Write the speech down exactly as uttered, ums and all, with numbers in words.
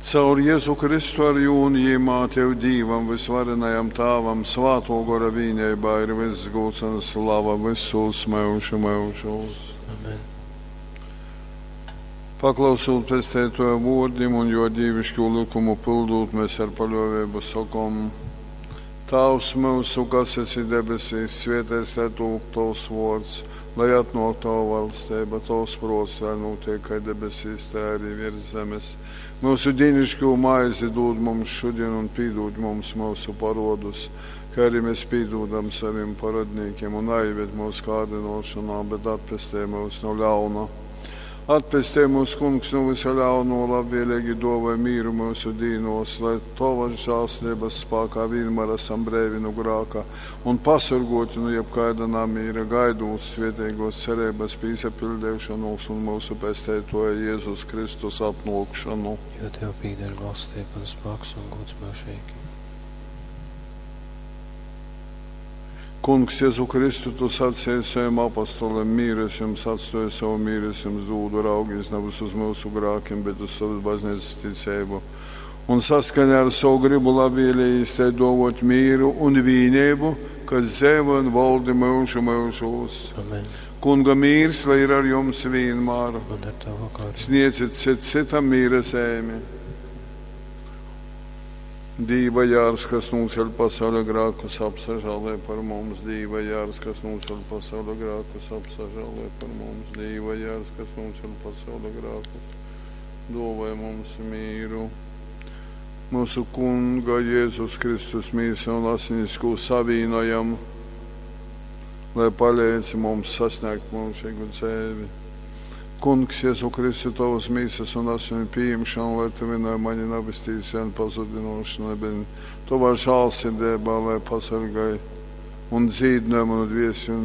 Caur Jezu Kristu ar jū un jīmā Tev Dīvam, Vysvarenajam Tāvam, Svātō Gora vīneibā ir vyss gūds un slava vysūs myužu myužūs. Amen. Paklausūt Pesteitoja vōrdim un jō dīviškū lykumu pyldūt, mēs ar paļōveibu sokom: Tāvs myusu, kas esi debesīs, svēteits lai tūp tovs vōrds, lai atnōk tova valsteiba, tovs prōts, lai nūtiek kai debesīs, tai arī virs zemes. Myusu dīniškū maizi dūd mums šodien un pīdūd mums myusu parodus, kā arī mēs pīdūdam saviem parodnīkiem, un naieved mūsu kārdinošanā, bet atpestej mūs no ļauna. Atpestej mūs, Kungs, no visa ļauno, labvēlīgi dāvāj mīru mūsu dīnos, lai Tavas žēlastības spēkā vienmēr esam breivi no grāka un pasargoti no jebkāda namīra, gaidot svētīgos cerības pīsapildīšanos un mūsu pesteitoja Jēzus Kristus atnākšanu. Jo Tev pīder valstība un spēks un gods mūžīgi. Kungs, Jēzu Kristu, tu sacīji saviem apostoliem, mīru es jums atstāju, savu mīru es jums dūdu, raugies nevis uz mūsu grākiem, bet uz savas baznīcas ticību. Un saskaņā ar savu gribu labvēlījis te dovot mīru un vīnību, kas dzīvo un valdi mūžu mūžos. Amen. Kunga mīrs, lai ir ar jums vienmēr. Un ar tavu garu. Sniedziet cit citam mīra zemi. Dīva jārs, kas nūceļ pasauļa grākus, apsažālē par mums. Dīva jārs, kas nūceļ pasauļa grākus, apsažālē par mums. Dīva jārs, kas nūceļ pasauļa grākus, dāvāj mums mīru. Mūsu Kunga Jēzus Kristus mīsa un asinis, ko savīnojam, lai palīdz mums sasniegt mūžīgu dzīvi. Kungs, Jēzu Kristu, tavas mīsas un asinu pieņemšanu, lai tu vienai mani nabestīsi un pazudinošanai, bet tavā žālsirdībā, lai pasargāj un dzīdināj manu dviesi un